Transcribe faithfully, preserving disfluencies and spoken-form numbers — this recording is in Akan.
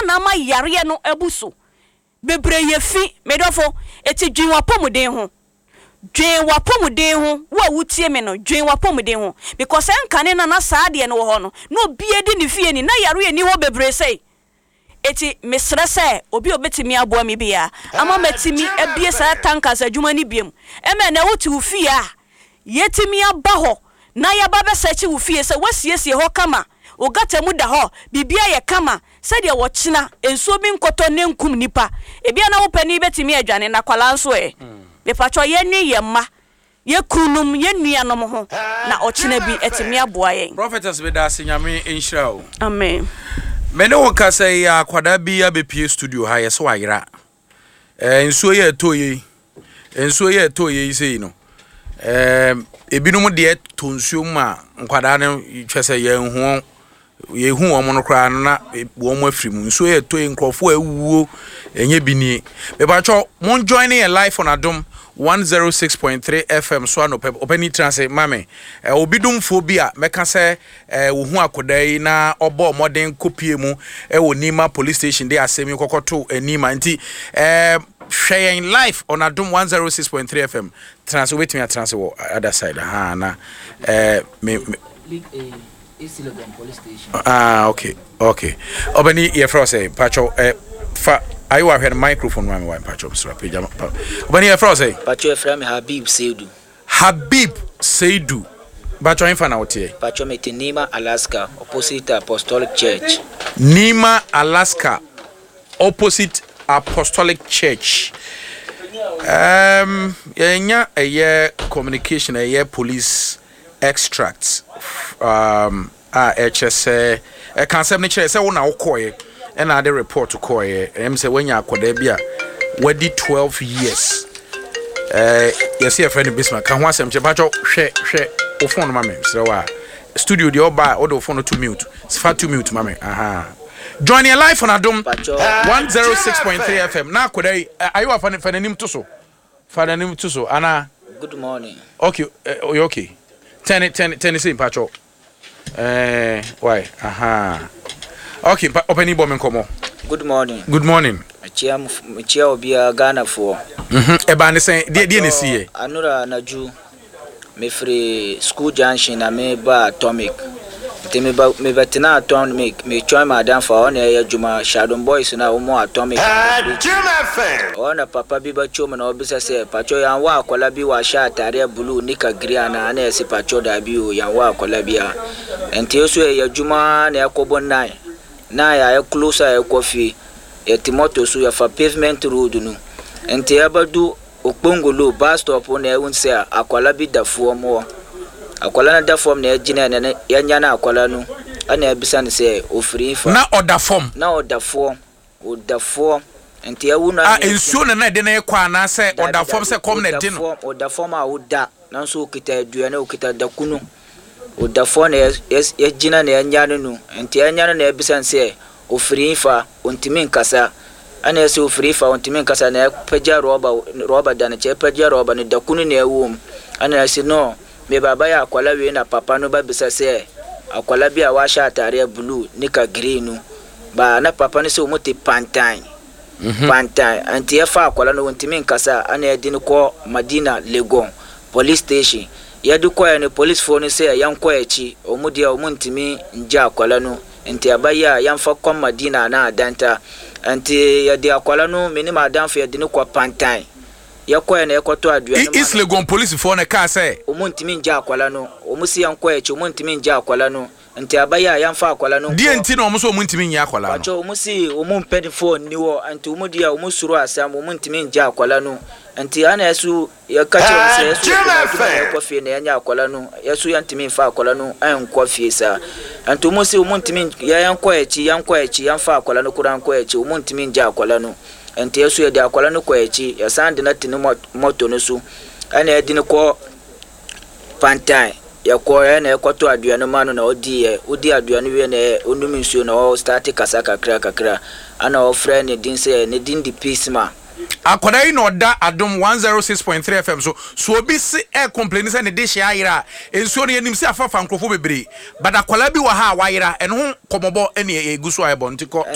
Ana ama yareɛ no abu so bebree yɛ fi. Medɔfo, eti dwen w'apɔmuden ho, dwen w'apɔmuden ho. Wo a wotie me no, dwen w'apɔmuden ho, because ɛnkane na na saa adeɛ no wɔ hɔ no na obie di ne fie ni na yareɛ ni hɔ bebree sɛi. Eti mesrɛ sɛ obi a obetumi aboa mi bia ama matumi abie saa tankers adwuma no biem, ɛmɛ na wote wo fie a, yɛtumi aba hɔ na yɛba bɛsɛkye wo fie sɛ woasiesie hɔ kama, wo gutter mu da hɔ, biribia yɛ kama, sɛdeɛ wɔkyena nsuo bi nkɔtɔ ne nkum nipa. Ebia na wo pani bɛtumi adwane na kwalaa nso ɛ. Mepatwɔ, yɛnwe yɛn mma, yɛ kununom, yɛ nuanom ho na ɔkyena bi ɛtumi aboa yɛn. Prophetess, bɛda ase. Nyame nhyira o. Amen. Me ne wo kasa yi, akwadaa bi abɛpie studio ha, yɛ sɛ wayera. ɛɛ nsuo yɛ ɛtɔ yɛ yi, nsuo yɛ ɛtɔ yɛ yi sei no, ɛɛ ebinom deɛ tɔ nsuo mu a, nkwadaa no twɛ sɛ yɛn ho yɛhu wɔn no koraa no na wɔn afiri mu. Nsuo yɛ ɛtɔ yi, nkurɔfoɔ awuo, ɛnyɛ bi nie. Mepatwɔ, mon join yɛ live on Adom one oh six point three F M so anɔpɛ. Ɔpɛni, tena ase mame. ɛ obi domfoɔ bi a mɛka sɛ ɛ wohu akwadaa yi na ɔbɔ ɔmɔden kɔpie mu ɛwɔ Nima Police Station de asɛm yi kɔkɔto Nima. Nti ɛɛ hwɛ yɛn live on Adom one oh six point three F M. Tena ase, wobɛtumi atena ase wɔ other side ha na ɛɛ me me Ah, okay okay Ɔbɛni, yɛfrɛ wo sɛ? Patwɔ, ɛ fa ayewa hwɛ no microphone ma me wa. Patwɔ, mesrɛ, pagya. Ɔbɛni, yɛfrɛ wo sɛ? Patwɔ, yɛfrɛ me Habib Seidu. Habib Seidu, patwɔ, ɛmfa na woteɛ? Patwɔ, mete Nima Alaska, opposite Apostolic Church. Nima Alaska, opposite Apostolic Church. um, yɛnya ɛyɛ communication, ɛyɛ police extract um, a ɛkyerɛ sɛ ɛka asɛm no kyerɛ sɛ wo na wokɔɔɛ ɛna ade report kɔɔɛ. Ɛm sɛ woanya akɔdaa bi a wadi twelve years, ɛɛ yɛsɛ yɛfrɛ no Bisma. Ka ho asɛm kyerɛ. Patwɔ, hwɛ hwɛ wo phone no ma me, serɛ wo. A studio deɛ, ɔba a wode wo phone no to mute, fa to mute ma me. Aha, join your live on Adom one oh six point three F M. Na akɔda yi, ayewa, fa fa n'anim to so, fa n'anim to so ana. Good morning. Okay, uh, okay, tɛne tɛne tɛne sɛ mpatwɔ ɛɛ why. Aha, okay, ɔpɛni, bɔ me nkɔmɔ. Good morning. Good morning. Mekyia mekyia obiara, Ghanafoɔ. mhm ɛbaa ne sɛn? Deɛ deɛ na esi yɛ? Anura anadwo, mefiri School Junction na meba Atomic, nti meba mebɛtena Atomic, metwɛn m'adamfo a ɔna ɛyɛ adwuma Shadon Boys na wɔn Atomic. Ɔwɔ na papa bi bɛtwa mu na ɔbisa sɛ, "Patwɔ, yɛnwɔ akwala bi wahyɛ ataadeɛ blue nika green ana?" Ana yɛsɛ, "Patwɔ, daabi o, yɛnwɔ akwala bi a." Nti nso yɛyɛ adwuma na ɛkɔbɔ nine nine a yɛ close a yɛkɔ fie, yɛte moto so, yɛfa Pavement Road no, nti yɛbɛdu Okpongolo bus stop na ɛhu sɛ akwala bi da fam hɔ. Akwala no da fam na yɛgyina na yɛnya no akwala no ɛna yɛbisa no sɛ ofiri fa. Na ɔda fam? Na ɔda fam, ɔda fam, nti ɛwu no. A nsuo na na ɛde no kɔ anaasɛ ɔda fam sɛ kɔm na ɛde no? Ɔda fam a ɔda, nanso okita aduane, okita dakunu. Ɔda fam na yɛgyina na yɛnya no no nti yɛnya no na yɛbisa no sɛ ofiri fa, ɔntumi nkasa. Ɛna yɛsɛ ofiri fa, ɔntumi nkasa, na yɛpagya rɔba, rɔba da no kyɛ, yɛpagya rɔba no, dakunu na ɛwɔ mu. Ɛna yɛsɛ no meba yɛ akwala wei na papa no bɛbisa sɛ akwala bi a wahyɛ ataadeɛ blue nika green no baa, na papa no sɛ wɔn te Pantan mhm. Pantan. Nti yɛfa akwala no, wɔntumi nkasa, ɛna yɛde no kɔ Madina Legon Police Station. Yɛde kɔɛ no, policefoɔ no sɛ yɛnkɔ akyi, wɔn deɛ wɔn ntumi ngye akwala no, nti abayɛ a yɛmfa kɔ Madina anaa Adanta. Nti yɛde akwala no, me ne m'adamfo, yɛde no kɔ Pantan. Yɛkɔɛ na yɛkɔtɔ aduane. East Legon polisifoɔ no kaa sɛ? Wɔn ntumi ngye akwala no, wɔn si yɛnkɔ akyi, wɔn ntumi ngye akwala no, nti abayɛ a yɛmfa akwala no. Deɛ nti na wɔn nso wɔn ntumi nye akwala no? Patwɛ, wɔn si wɔn mpanyinfoɔ nni hɔ, nti wɔn deɛ wɔn soro asɛm, wɔn ntumi ngye akwala no. Nti ana ɛso yɛka kyerɛ wɔn sɛ yɛso yɛkɔ adwuma na yɛkɔ fie na yɛnyɛ akwala no, yɛso yɛntumi nfa akwala no ɛnkɔ fie saa. Nti wɔn si wɔn ntumi, yɛnkɔ akyi, yɛnkɔ akyi, yɛmfa akwala no koraa nkɔ akyi, wɔn ntumi ngye akwala no. Nti yɛso yɛde akwala no kɔ akyi, yɛsan de no te ne mɔto no so, ɛna yɛde no kɔ Pantan. Yɛkɔ ɛna yɛkɔtɔ aduane ma no na ɔdi yɛ, ɔdi aduane wie na ɔnum nsuo na ɔstart kasa kakra kakra, ɛna ɔfrɛ ne din sɛ ne din de Peacema. Akwadaa yi na ɔda Adom one oh six point three F M so. So obi se ɛ complain sɛ ne de hyɛ ayera a, nsuo no yɛnim sɛ afafa nkurɔfoɔ bebree, but akwadaa bi wɔ ha a wayera. Ɛno ho kɔmɔbɔ ɛne egu so a ɛbɔ, nti kɔ to.